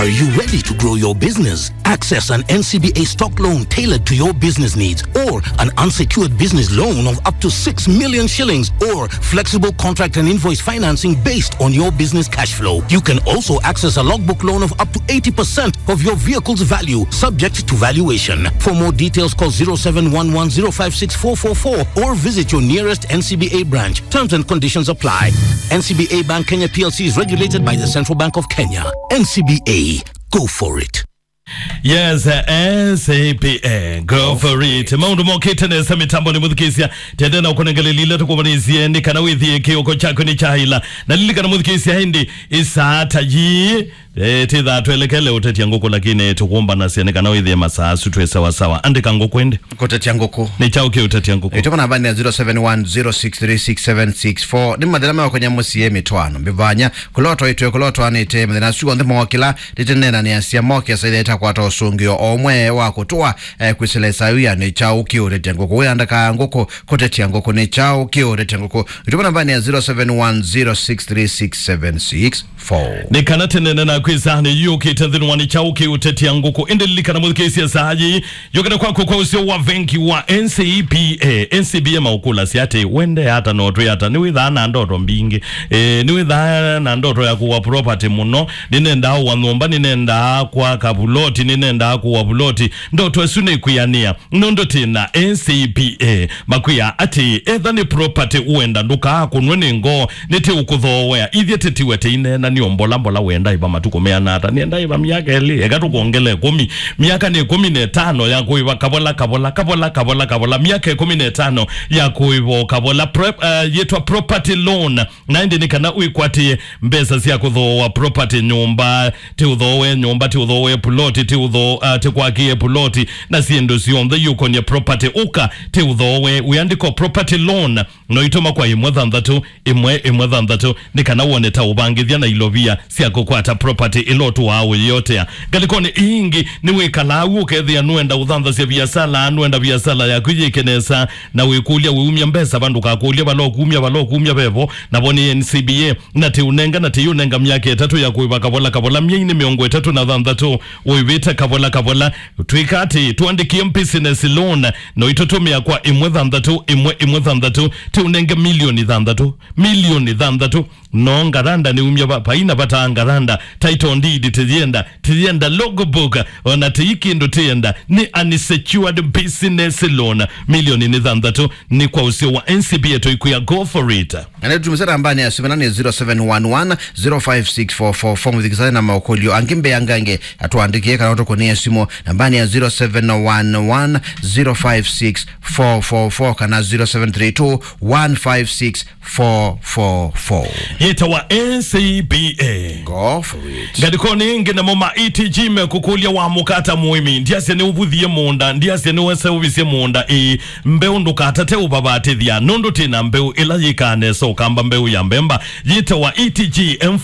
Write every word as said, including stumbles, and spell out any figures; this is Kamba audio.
Are you ready to grow your business? Access an N C B A stock loan tailored to your business needs or an unsecured business loan of up to six million shillings or flexible contract and invoice financing based on your business cash flow. You can also access a logbook loan of up to eighty percent of your vehicle's value, subject to valuation. For more details, call zero seven one one zero five six four four four or visit your nearest N C B A branch. Terms and conditions apply. N C B A Bank Kenya P L C is regulated by the Central Bank of Kenya. N C B A, go for it. Yes, eh, N C B A, go for it. Maũndũ mokĩte nesa mĩtambo nĩ mũthikĩsya. Tende na ũkũnengelelile tũkũvanĩsie nĩ kana wĩthie kĩoko kyaku nĩ kyaĩla. Na lilikana mũthikĩsya ĩndĩ ĩsaa ta yii, eh, tĩthaa twelekele ũtetia ngũkũ, lakini tũkũmbanasya nĩ kana wĩthie masaa asu twĩ sawa sawa. Andĩka ngũkũ ĩndĩ. Kũtetia ngũkũ. Nĩ kyaũ kĩ ũtetia ngũkũ? Ĩtũma namba nĩ zero seven one zero six three six seven six four. Nĩ mathĩna meũkonya mũsyĩ, mĩtwaano, mĩvanya, kũlotwa itwe, kũlotwanĩte, mathĩna asu onthe mokĩla, tĩtĩneenanĩasya moke saitha ĩtakwata ũsũngĩo o ũmwe wa kũtũa, eh, kwĩsĩla ĩsaa yĩu ya nĩ kyaũ kĩ ũtetia ngũkũ. Wĩandĩka ngũkũ, kũtetia ngũkũ, nĩ kyaũ kĩ ũtetia ngũkũ? Ĩtũma namba nĩ ya zero seven one zero six three six seven six four. Nĩ kana tene na kwĩsa nĩ yũkĩte nthĩnĩ wa nĩ kyaũ kĩ ũtetia ngũkũ. Ĩndĩ lilikana mũthikĩsya saa yĩĩ, yũkĩte kwaku kwa ũseo wa vengi wa N C B A. N C B A maũkũlasya atĩ, wende ata no twĩ ata? Nĩwĩthaa na ndoto mbingĩ. Eh, nĩwĩthaa na ndoto ya kũwa property mũno. Nĩnendaa ũwa nyũmba, nĩnendaa kwaka vuloti, nĩnendaa kũwa vuloti. Ndoto ĩsu nĩkwĩanĩa. Nũndũ tĩ na N C B A, makwĩa atĩ, etha nĩ property ũenda, ndũkaakũnwe nĩ ngoo, nĩtĩũkũthoowea. Ithyĩ tĩtiwe tĩineena nĩ o mbola mbola, wenda ĩva matukũ meana ata? Nĩenda ĩva myaka ĩlĩ, eka tũkwongele ĩkũmi. Myaka nĩ ĩkũmi na ĩtano ya kũĩva kavola, kavola, kavola, kavola, kavola. Myaka ĩkũmi na ĩtano ya kũĩva o kavola. Pro-, eh, yĩtwa property loan. Na ĩndĩ nĩ kana wĩkwatĩe mbesa sya kũthooa property, nyũmba, ti ũthooe nyũmba, ti ũthooe puloti, ti ũthoo-, ah, ti kwakĩe puloti, na syĩndũ syonthe iũkonie property. Ũka, ti ũthooe, wĩandĩko property loan, no itũma kwa ĩmwe thanthatũ, ĩmwe, ĩmwe thanthatũ, nĩ kana wone ta ũvangĩthya na ilovia sya kũkwata property ĩla ũtũaa ũyĩotea. Ngalĩkonĩ ii ingĩ, nĩwĩkalaa u ũkethĩa nũenda ũthanthasya viasala, nũenda viasala yaku yĩke nesa, na wĩkũlya wĩumya mbesa va, ndũkakũlye vala ũkumya, vala ũkumya vevo, navo nĩ N C B A, na tĩũnenga, na tĩyũnenga myaka ĩtatũ ya kũĩva kavola kavola, myeinĩ mĩongo ĩtatũ na thanthatũ, ũĩvĩte kavola kavola. Twĩka atĩ, tũandĩkĩe business loan, no itũtũmĩa kwa ĩmwe thanthatũ, ĩmwe, ĩmwe thanthatũ, tĩũnenge milioni thanthatũ, milioni thanthatũ. No ngaranda nĩumya va, vaina vata ngaranda, title deed tĩyenda, tĩyenda logbook, ona tĩi kĩndũ tĩyenda, nĩ unsecured business loan. Milioni nĩ thanthatũ, nĩ kwa ũseo wa N C B A, tũikwĩa go for it. Na nĩ tũmĩsa nambanĩ ya simũ nĩ zero seven one one zero five six four four four, mũthikĩsani na maũkũlyo angĩ mbeangange, atũandĩkĩe kana ũtũkũnĩe simũ nambanĩ ya zero seven one one zero five six four four four kana zero seven three two one five six four four four. Yĩtawa N C B A. Go for it. Ngalĩkonĩ ĩngĩ namo ma E T G mekũkũlya wamũka ata mũĩmi. Ndiasya nĩũvuthie mũũnda, ndiasya nĩweseũvisye mũũnda, ĩĩ, mbeũ ndũkatate ũvavatĩthya, nũndũ twĩ na mbeũ ĩla yĩkaa nesa ũkamba mbeũ ya mbemba. Yĩtawa E T G M